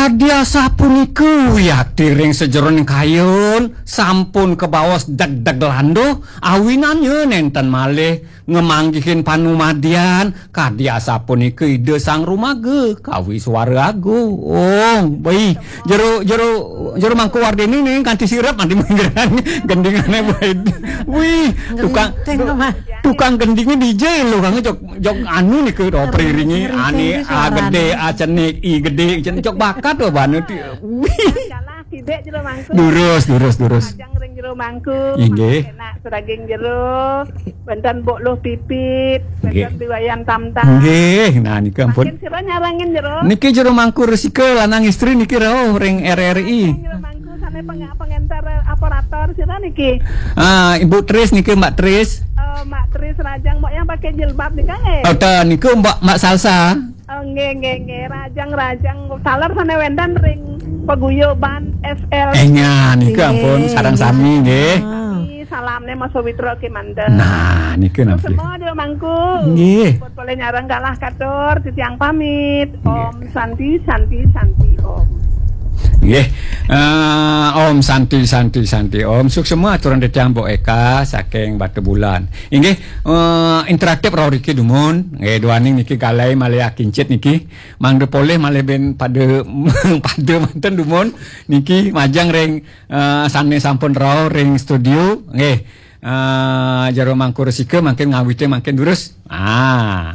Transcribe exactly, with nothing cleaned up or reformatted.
Dia sapunika wiakti ring sajeroning kayun, sampun kabaos degdeg landuh, awinannya nenten malih ngamanggihin panumadian, kadi asapunika Ida Sang Rumaga, kawi suara agung. Bai, jero, jero, jero Mangku Wardini ning kanti sirep mati menggeran gendingane bai. Wih, tukang, tukang gendingnya D J lo, Kang, jok, jok anu nih ke, oh, periringi, ane, A gede, A cenik, I gede, cenik, jok bakat tuh, bana. Wih. Kalah, sidek jero Mangku. Durus, durus, durus. Ajang ring jero Mangku. Inggih. Enak sedaging jero. Wénten Mbok Luh Pipit, wénten Biwayan Tamtam. Nggih, nah nika ampun. Mangkin sira nyarengin jero. Niki jero Mangku Resika lanang istri niki rauh ring R R I. Jero Mangku sané peng-, pengenter operator sira niki. Ah, Ibu Tris niki, Mbak Tris. Eh, Mbak Tris Rajang, Mbok yang pakai jilbab nika nggih? Oh, ta, niku Mbak, Mbak Salsa. Oh, nggih, nggih, nggih. Rajang, Rajang. Taler sané wénten ring paguyuban S L. Eh, nya, nika ampun, sareng sami nggih. Sami, salamné Mas Pawitra kémanten. Nah, nika. Terus nampil. Semua di Mangku. Nggih. Pun boleh nyareng kalah katur, titiang pamit. Nggih. Om Santi, Santi, Santi, Om. Nggih. Eh, Om Santi, Santi, Santi, Om. Suksema aturang titiang Mbok Eka saking Batubulan. Inggih, eh, interaktif rauh riki dumun. Nggih, duaning niki galai malih akincit niki. Mangda polih malih ben pada, pada manten dumun niki majeng ring, eh, sané sampun rauh ring studio. Nggih. Eh, jero Mangku Resika mangkin ngawite mangkin durus. Ah.